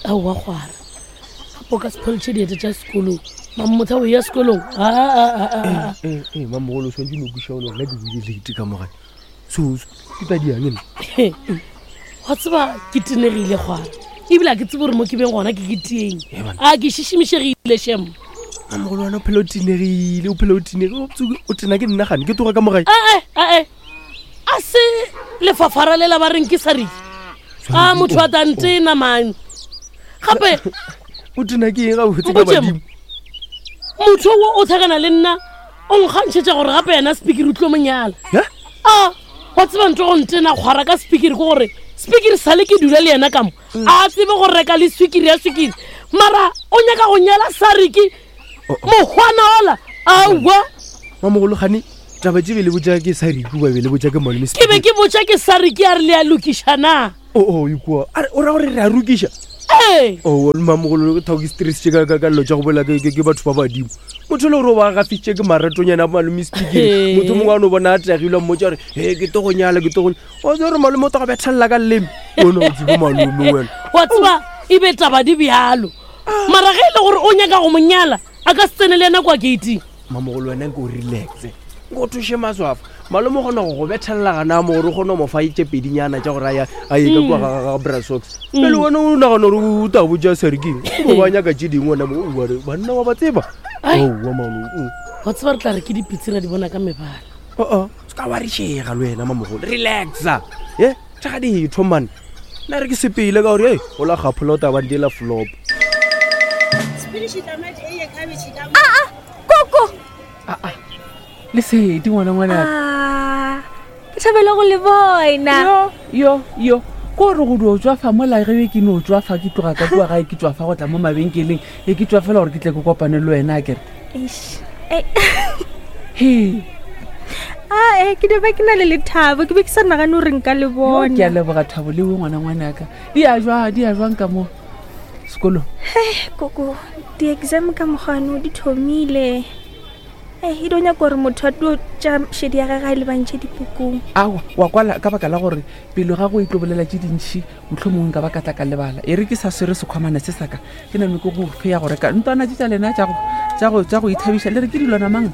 Aowa kgwara. Gape o ka se pholetšhe dieta tša sekolong. Mamotha o ya sekolong. A. Ee, ee, mamogolo o swanetše no kweša gore nna ke buile late ka mogane. So, ke tla diang nna? Wa tseba ke tenegile kgwara. Ebile a ke tsebe gore mo ke beng gona ke ke tieng. A ke šišimišegile shem. Mamogolo wena o phela o tenegile, o phela o tenegile. O tena ke nna gane, ke tloga ka mogae. Ae, ae. A se lefafara lela ba reng ke sa reng. A motho a tantena man. Gape o tena ke eng gabotse ka badimo? Motho o o tlhakana le nna o nkgantšhetša gore gape yena speaker o tlo monyala. A wa tseba ntho go ntena kgwara ka speaker ke gore speaker sale ke dula le yena ka mo. A tsebe go reka le swikiri ya swikiri. Mara o nyaka go nyala Sariki mokgwana ola aowa. Mamogolo gane taba tše be le botša ke Sariki ba be le botša ke malome Ke be ke botša ke Sariki a re le a lokiša na. O o ikua. A re o ra gore re a rokiša. Ee. O mamogolo ke thao ke stress ka ka ka dilo tša go bolela ke ke batho ba badimo. Motho le gore o ba gafitše ke maratonyana a malome Speaker. Motho mongwe a no bona a tagilwe a mmotša gore he ke tlo go nyala ke tlo go o tsebe gore malome o tlo go bethelela ka leleme. Wena o tsebe malome wena. Wa tseba e be taba di bjalo. Mara ge e le gore o nyaka go mo nyala a ka se tsene le yena kwa gating. Mamogolo wena nke o relaxe nko o thuše maswafo malome o kgona go go bethelela gana mo gore o kgone go mo fa tše pedinyana tša gore a ye ka kua ga brasox pele wena o nagana gore o ta botša serking o ba nyaka tše dingwe wena mo o re banna wa ba tseba owa mano wa tseba re tla re ke dipitse ra di bona ka mebala oo se ka warišega le wena mamogolo relaxa e tšhaga ditho mane nna re ke sepele ka gore e o la gaphola o tabang dela flop aa koko aa lesedi ngwana ngwana ah, ke thabela go le bona yo yo yo ko re go dio tswafa mola ge ke no tswafa ke tloga ka kua gae ke tswafa go tla mo mabenkeleng e ke tswafela gore ke tle ke kopane le wena a kere he ae ke be ke na le lethabo ke be ke sa nagane gore nka le bona ke a leboga thabo leo ngwana ngwanaka di a jwa di a jwang ka mo sekolong Hei, koko di-exam ka mokgano di thomile e e do nyaka gore motho a tlo tša šedi ya gage a e lebantšhe dipukung awa wa kwala ka baka la gore pelo ga go e tlo bolela tše dintšhi motlho mongwe nka ba ka tla ka lebala e re ke sa swere sekhwamana se saka ke name ke go fe ya go reka ntwana tše tša lena tša go ithabiša le re ke dilwana mang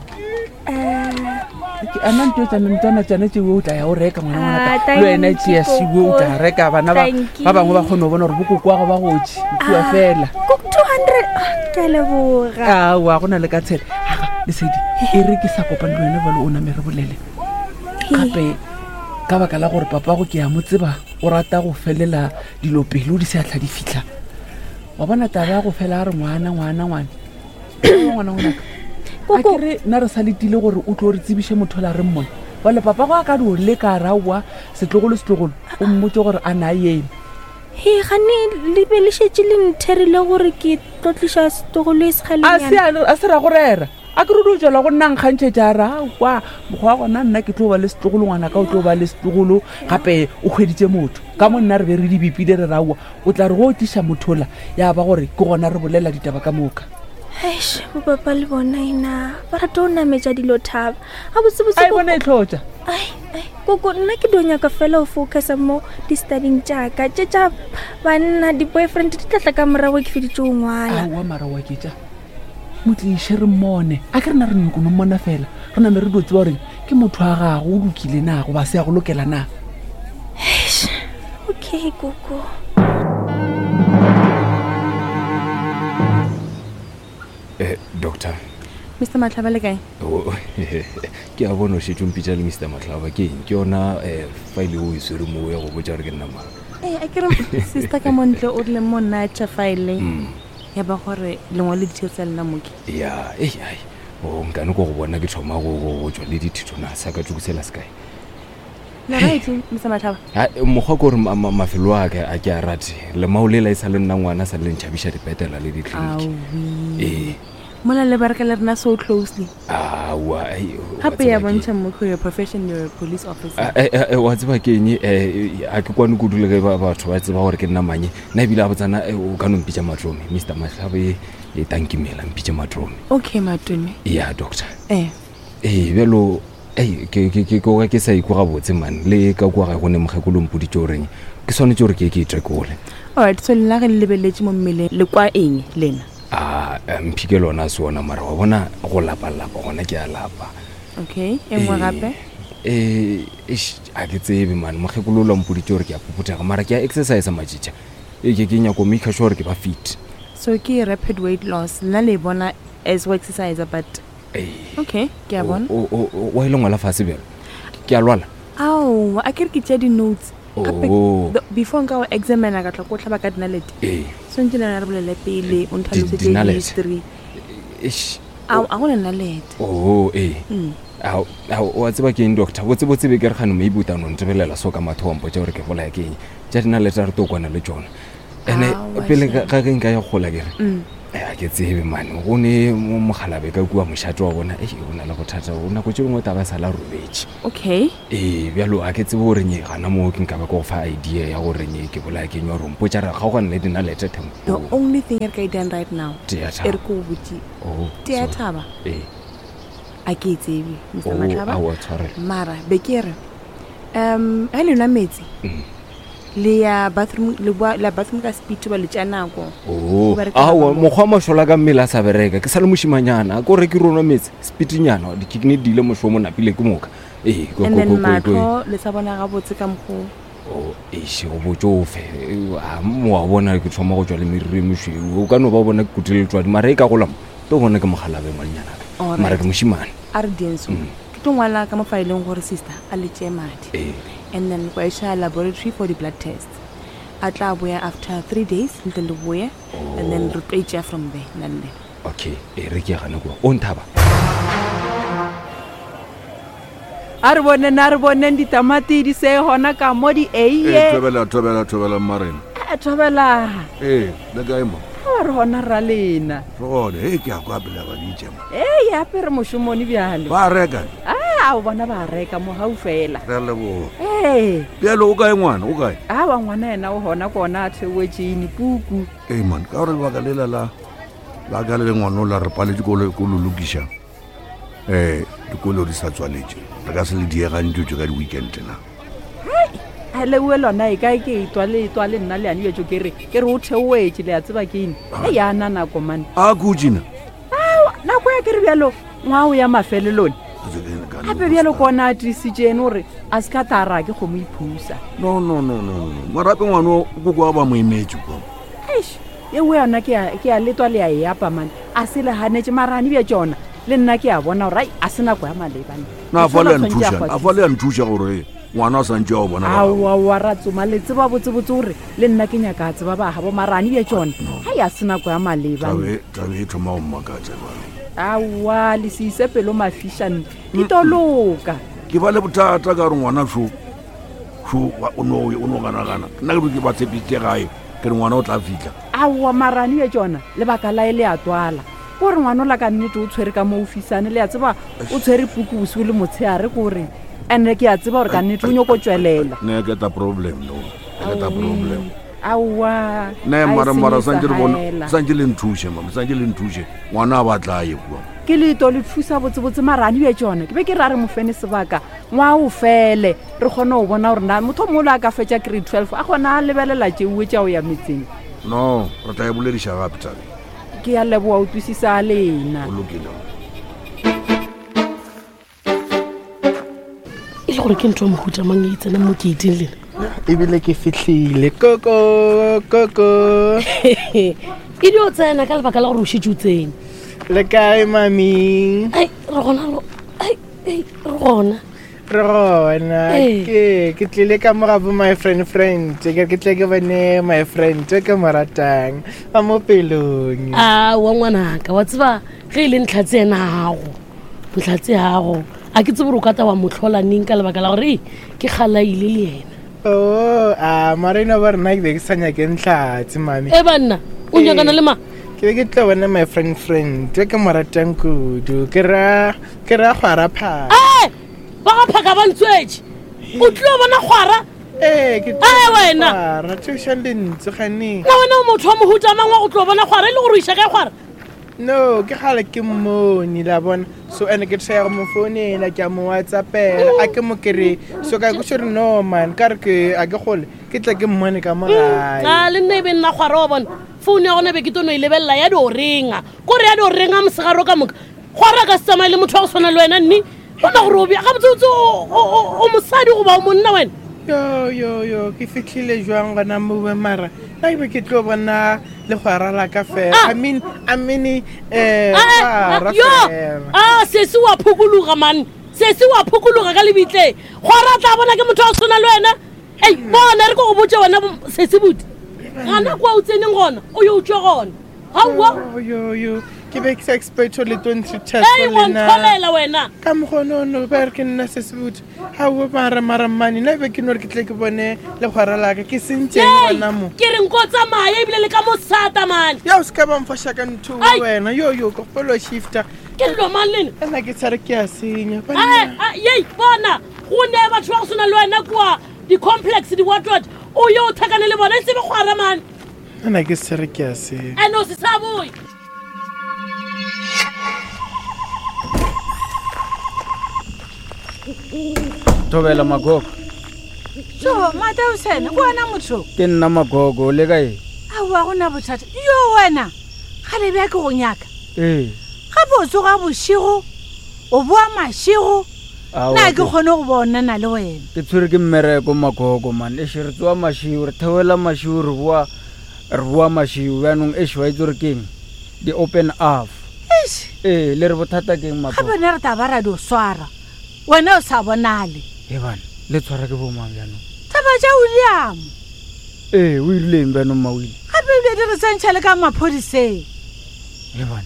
a nna nto tsana ntwana tsana tšeo o tla ya o reka ngwana ngwana Ah, ka le wena tšea thank you, šiwe o tla Koko. reka bana ba Thank ba bangwe ba you. kgone go bona gore bokoko wa go ba gotse kua Ah, fela koko 200 Ah, ke a leboga aowa go na le ka tshele aga lesedi e re ke sa kopane le wena bjalo o name re bolele gape ka baka la gore papago ke a mo tseba o rata go felela dilo pelo di se a tlha di fitlha wa bona taba ya go fela a re ngwana ngwana ngwana ngwana ngwanaka a Koko. ke re nna re sa letile gore o tlo re tsebiše motho la re mmone bale papa go a ka dio leka raowa setlogolo setlogolo o mmotse gore a na eme he gane le be le šetše le ntherile gore ke tlo tliša setlogolo e a se sekgalenyana a se ra go rera a ke re o tswela go nna nkgantšhetša a re aowa mokgwa wa gona nna ke tlo ba le setlogolo ngwana ka o tlo ba le setlogolo gape o hweditše motho ka mo nna re be re di bipile re raowa o tla re go o tliša mothola ya ba gore ke gona re bolela ditaba ka moka eish bopapa le bona ena ba rata go nametša dilo thaba ga botsebotse a e bona e tlhotša ai ai koko nna ke dio nyaka fela go focusa mo di-studyng tšaka tše tša banna di-boyfriend di tlatla ka morago ke feditše go ngwala aowa mara wa ketša motliše re mmone a ke rena re nyoko no mmona fela re name re dio tseba gore ke motho wa gago o lokile na goba se ya go lokela na Eish, okay koko Eh, doctor mr matlhaba le kae Oh, ke a bona o šetše o mpitša le mr matlhaba ke eng ke yona um file o e swere moo ya go botša gore ke nna mang ee a kere sister ka montle o rile mo nna tša file Mm. ya ba gore lengwe le ditheo tsa lena moke ya ei ai o nkane ko go bona ke thoma go go- go tšwa le dithithona sa ka tsokosela sekae le right mr matlhaba Ha, eh, mokgwa ke gore ma- ma- mafelo a ka a ke a rate lemao lela e sa le nna ngwana sa le ntšhabiša dipetela le ditleliniki awi ee mola le bereka le rena so closely aowa ai, wa gape ya tseba ke- bontšha mokgo your profession you're a police officer Ah, eh, eh, eh, wa tseba ke eng eh, a ke kwane kudu le ge ba- batho ba tseba gore ke nna manye nna ebile a botsana eh, o ka no mpitša matrome mr matlhabo e e tankimela mpitše matrome okay matome ya doctor ee ee bjalo Ei, ke ke ke ke ke sa ikwa gabotse man le ka kua ga go ne mokgekolo mpoditše goreng ke swanetše gore ke ke itekole. Alright, so lena ge le lebeletše mo mmeleng le kwa eng lena? A mphike lona a se ona mara wa bona go lapa-lapa gona ke a lapa. Okay, e nngwe gape? Eh, eish, a ke tsebe man mokgekolo o la mpoditše gore ke a phuphuthaga mara ke a exercise matšitša. Ee ke ke nyako maker sure gore ke ba fit. So ke rapid weight loss, lena le e bona as go exercise but okay ke a bona wa ile ngwala fase bjalo ke a lwala ao a ke re ke tšea di-notes gape Oh. before nka go examina ka tla ko tlhaba ka dinalete ee swantse le yona re bolele pele o ntlhalosetse dinalete? history Eish. a a go na nalete oo ee Mm. Ao, ao, wa tseba ke eng doctor botsebotse be ke re gane maybe o tano ntebelela so ka matho wa mpotsa gore ke bolaya ke eng tša dinalete a re to kwana le tsona ene Aowa, pele shame. ga ge nka ya gola ke re Mm. Eh, a ke tsebe mane go ne mo mogalabe ka kua mošate wa bona ei o na le bothata o nako tse dingwe taba sa la robetše okay ee bjalo a ke tsebe gore nye gana moo ke nka ba ke go fa idea ya gore nye ke bolaya ke nywa rompotša re kgaogane le dinalete the tempo only thing e re ka e dirang right now Tea e thaba. re ko go botse Oh, tea sorry. thaba ee a ke e tsebe mr Oh, matlhaba aowa, tshwarelo. mara be ke re um ge le nwa metsi Mm. le ya bathroom le boa le ya bathroom ka speed ba le tšea nako oo Ba re ke aowa ba bangwe. mokgwa wa mašola ka mmele a sa bereka ke sa le mošimanyana ko re ke ronwa metse speednyana dikikne di ile mošomo napile ke moka ee ko- and ko- then ko- ko- ko- matlho le sa bona gabotse ka mokgo Oh, eish go botsofe wa bona ke thoma go tswa le meriri e mešweu o ka no ba bona ke kutile letswadi mara e ka golamo to bona ke mogalabe ngwanyanaka Alright. mara ke mošimane a re dienso ke tlo ngwala ka mo faeleng gore sister a le tšee madi ee and then kwa iša laboratory for di-blood test a tla boya after three days ntle le boye and then re tlo itšea from there nna le lena okay e re ke ya gane kua o nthaba a re boneng a re boneng ditamati di se gona ka mo di ee eiye thobela thobela thobela mmarena a thobela ee le kae mo a re gona rra lena re gone e ke a kwa pele ba ditše mo ee ape re mošomone bjalo ba reka a o bona ba reka mogau fela re a leboga ee bjale o kae ngwana o kae awa ngwana yena o gona kona a theoetšene puku ee man ka gore lebaka lela la la ka le le ngwana o la re paletse ko lo ko lo lokiša um dikolo di sa tswaletše re ka se le diegantšotše ka di-weekend na a leue lona e kae ke etwa le etwa le nna le yane bjetso ke re ke re o theoetše le a tseba ke eng e yana nako mane a kutsena nako ya ke re bjalo ngwao ya mafelelone gape bjalo kona a tiisitšene gore a se ka tara ke kgomo iphusa no no no no no marape ngwana o koko a ba mo emetse kwa eish ewe yona ke a- ke a letwa le a e apa mane a se le ganetse marane bja tsona le nna ke a bona gore ai a se nako ya malebane na a fa le ya nthuša a fa le ya nthuša gore ngwana a santse a o bona ba gagwe. aowa ra tsoma le tseba botsebotse gore le nna ke nyaka a tseba ba gabo marane bja tsona ai a se nako ya malebane Tabe- tabe e thoma go mmakatša jwale. aowa le se ise pelo mafišane di toloka ke ba le bothata ka gore ngwana šo šo wa- o no o no ganagana nna ke be ke ba tshepisitse gae ke re ngwana o tla fitlha aowa marane bja tsona lebaka lae le a twala kore ngwana o la ka nnete o tshwere ka mo ofisane le a tseba o tshwere puku bosigo le motshehare kore and-e ke a tseba gore ka nnete o nyako tswelela ne ke ta problem no ke ta problem aowa ne a e mara mara senyetsa santse re bone haela. santse le nthuse mama santse le nthuse ngwana a batla ye kua ke leeto le thusa botsebotse marane bja tsone ke be ke ra re mofene sebaka ngwa o fele re kgone go bona gore na motho o mongwe le a ka fetša grade 12 a kgona a lebelela tšeue tša go ya metseng no re tla e bolediša gape tabe ke a leboa utlwisisa lena o lokile e le gore ke ntho ya mohuta mang e e tsenang mo gating lena ebile ke fitlhile koko koko e di o tsena ka lebaka la gore o šetse o tsene le kae mami ai re gona ai, ai, re gona re gona Ee. ke ke tlile ka mo gabo my friend friend ke re ke tle ke bone my friend e ke mo ratang a mo pelong a wa ngwanaka wa tseba ge e le ntlhatse ena gago ntlhatse gago a ke tsebe gore o ka ta wa motlhola neng ka lebaka la gore ee ke galaile le ena o a mara eno ba rena ke be ke sa nyake ntlhatse mami e banna o nyakana le mang ke be ke tlo bona my friend friend e ke mo ratang kudu ke ra ke ra kgwara phaka ee ba ga phaka ba ntswetse o tlile go bona kgwara ee ke Ee, wena. kgwara thušang lentswe ganeng na wena o motho wa mohuta mang wa go tlo bona kgwara e le gore o iša kae kgwara No, ke gale ke mmone la bona. So and ke try go mo founela ke a mo whatsappela a ke mo kry. So ka kweša gore no man ka re ke a ke gole ke tle ke mmone ka mo gae. A le nna e be nna kgwara wa bona founu ya gona be ke tono e lebelela ya dio renga kore ya dio renga mosegaro ka moka kgwara ka se tsamaye le motho wa go tshwana le wena nne bona gore o bja gabotsebotse o mosadi goba o monna wena yo yo yo ke fitlhile jwang gona mowe mara nna ke be ke tlo bona legwara la ka fela ah! i mean i mean eh ah, ah, yo a sesi wa phukuluga man sesi wa phukuluga ka lebitleng gwara tla bona ke motho wa go tshwana le wena ei bona re ko go botse wena sesi buti gana kwa o tseneng gona o yo utswe gona aowa yo ke be ke sa expecto le 23 ei wa ntlholela wena ka mokgonono ba re ke nna sesi buti gaowa mara mara mmane nna be ke no re ke tle ke bone legwara laka ke sentseng gona mo ke re nko tsamaye ebile le ka mosata mane ya o se ka bamfoša ka ntho wena yo yo ke gopelo shifta ke dilo mang lena nna ke tshare ke a senya yei bona go ne batho ba go swana le wena kua di-complex di-watwat o yo o thakane le bona e tsebe kgwara mane nna ke tshare ke a senya ene o se sa boye thobela magogo so matausene ke wena motho ke nna magogo o le kae aowa go na bothata yo wena gale bja ke go nyaka ee gape o tsoga bošego o boa mašego na ke kgone go bonana le wena ke tshwere ke mmereko magogo man eshe re tsoa mašego re theoela mašego re boa re boa mašego bjanong eshe wa itse gore keng di open up ee le re bothata keng magogo gape ne re taba ra di o swara wena o sa bonale e bana le tshwara ke bomang bjanong taba tša william ee o irileng bjanong mawile gape ebile di re tsentšha le ka maphodiseng e bana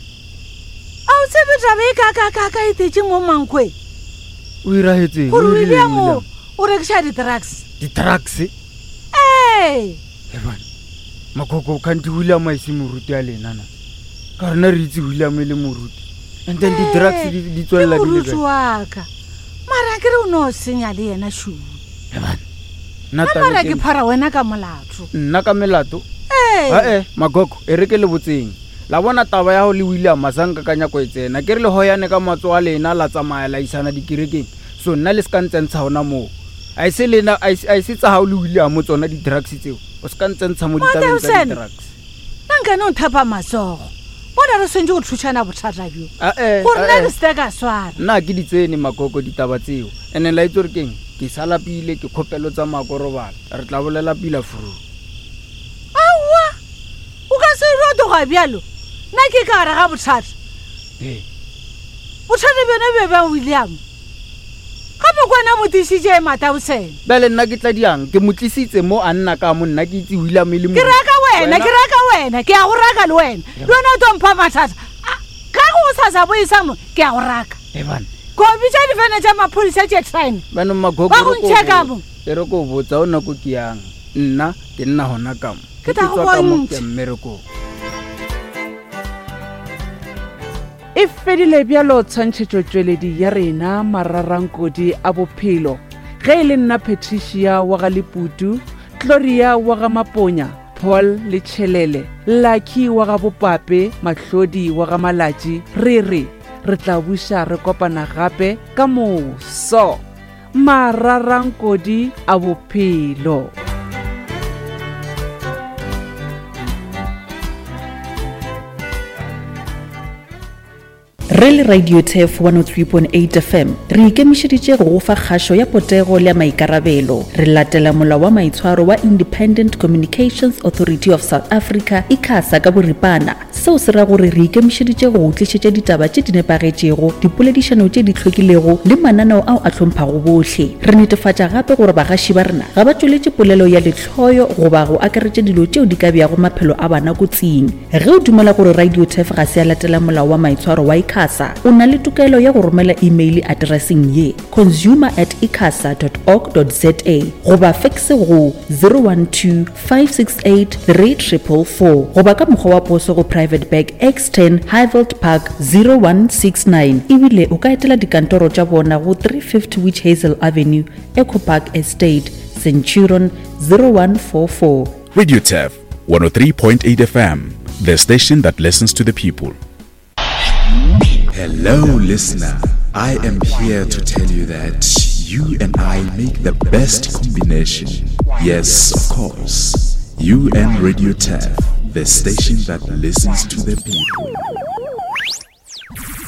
a o tsebe taba e kakakaka e tetse mo mankwe o iragetseng gore william o rekiša di-drugs di-drugs ee e bana makoko kgante william a ise moruti a lena na ka rena re itse william e le moruti and then di-drugs di tswelela di moruti waka mara ke re o ne o senya le yena šuu nna mara ke phara wena ka molato nna ka melato ee magogo e re ke le botseng la bona taba ya go le william a sa nka ka nyako e tsena ke re le hoyane ka matso a lena la tsamaya la isana dikerekeng so nna le se ka ntsentsha gona moo a e se lena a e se tsa gago le william tsona di-drugs tseo o se ka ntsentsha mo ditabeng tsa di-drugs nna nkane o nthapa matsogo bona re swantse go thušana bothata bjo gore nna ke sete ka swara nna ke di tsene makoko ditaba tseo ene la itse gore keng ke sa lapile ke kgopelo tsa makorobala re tla bolela pila furu aowa o ka se rotoga bjalo nna ke ka gare ga bothata bothata bjone be bja william gape ko wena mo tišitše matausene bjale nna ke tla diang ke mo tlisitse mo a nna ka mo nna ke itse william e le ke raka wena ke raka wena ke ya go raka le wena le wena o tlo mpha mathata ka go sa sa boisa mo ke ya go raka ko bitša difene tša maphodisa tše train ba go ntšhe ka mo e re ko botsa o nako ke yang nna ke nna gona ka mo ke tla go bontšha mmerekong E fedile bjalo tshwantšhetšotšweledi ya rena mararankodi a bophelo. Ge e le nna Patricia wa ga Leputu, Gloria wa ga Maponya, Paul le Tšhelele, Lucky wa ga Bopape, Mahlodi wa ga Malatši, re re re tla buša re kopana gape ka moso. Mararankodi a bophelo. Re le Radio Turf 103.8 FM re ikemišeditše go go fa kgašo ya potego le ya maikarabelo. Re latela molao wa maitshwaro wa Independent Communications Authority of South Africa, ICASA, ka boripana. Seo se ra gore re ikemišeditše go go tlišetša ditaba tše di nepagetšego, dipoledišano tše di hlwekilego le mananeo ao a hlomphago bohle. Re netefatša gape gore bagaši ba rena ga ba tšweletše polelo ya lehloyo goba go akaretša dilo tšeo di ka beago maphelo a bana kotsing. Ge o dumela gore Radio Turf ga se ya latela molao wa maitshwaro wa ICASA, o na le tokelo ya go romela imeile atereseng ye, consumer at icasa dot org dot za goba fekse go 012 568 3444 goba ka mokgwa wa poso go Private Bag X10 Highveld Park 0169 ebile o ka etela dikantoro tša bona go 350 Witch Hazel Avenue, Echo Park Estate, Centurion 0144. Radio Turf 103.8 FM, the station that listens to the people. Hello, listener. I am here to tell you that you and I make the best combination. Yes, of course. You and Radio Taf, the station that listens to the people.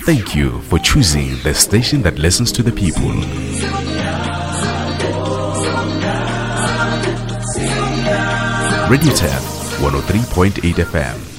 Thank you for choosing the station that listens to the people. Radio Taf 103.8 FM.